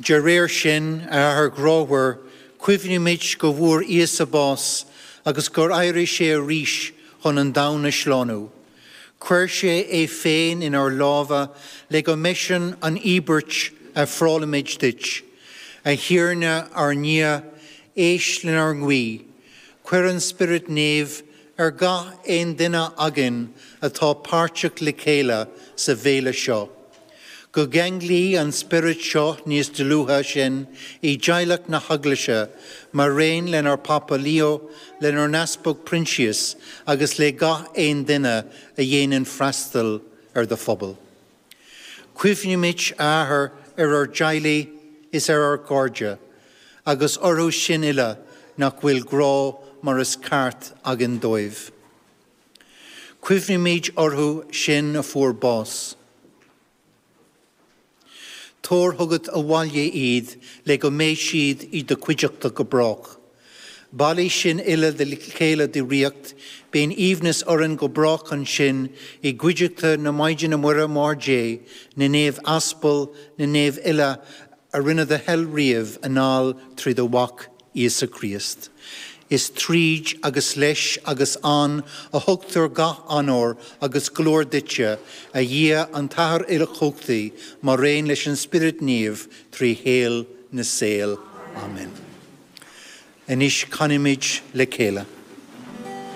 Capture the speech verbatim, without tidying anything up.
De réir sin, a Athair grámhar, cuimhnímid go bhfuair Íosa bás agus gur éirigh sé arís chun an domhan a shlánú. Chuir sé é féin inár lámha le go mb'eisean an íobairt a ofrálaimid duit. A Thiarna ár nDia, éist lenár nguí, Cuir an Spiorad Naomh ar gach aon duine againn atá páirteach le chéile sa bhéile seo. Go gceanglaí an Spiorad seo níos dlúithe sinn i dteaghlach na hEaglaise, mar aon lenár bPápa Leo, lenár nEaspag Proinsias agus le gach aon duine a dhéanann freastal ar do phobal. Cuimhnímid, a Athair, ar ár dteaghlaigh is ar ár gcairde, agus orthu sin uile nach bhfuil grá mar is ceart againn dóibh. Cuimhnímid orthu sin a fuair bás. Tabhair chugat abhaile iad le go mbeidh siad i do chuideachta go brách. Bailigh sinn uile le chéile i do ríocht, bíonn aoibhneas orainn go brách ansin i gcuideachta na Maighdine Muire Máthair Dé, na naomh aspal, na naomh uile a rinne do thoil riamh anall trí do Mhac Íosa Críost. Is tríd agus leis agus ann a thugtar gach onóir agus glóir duitse, a Dhia an tAthair uilechumhachtaigh, mar aon leis an Spiorad Naomh trí shaol na saol. Amen. Anois canaimid le chéile.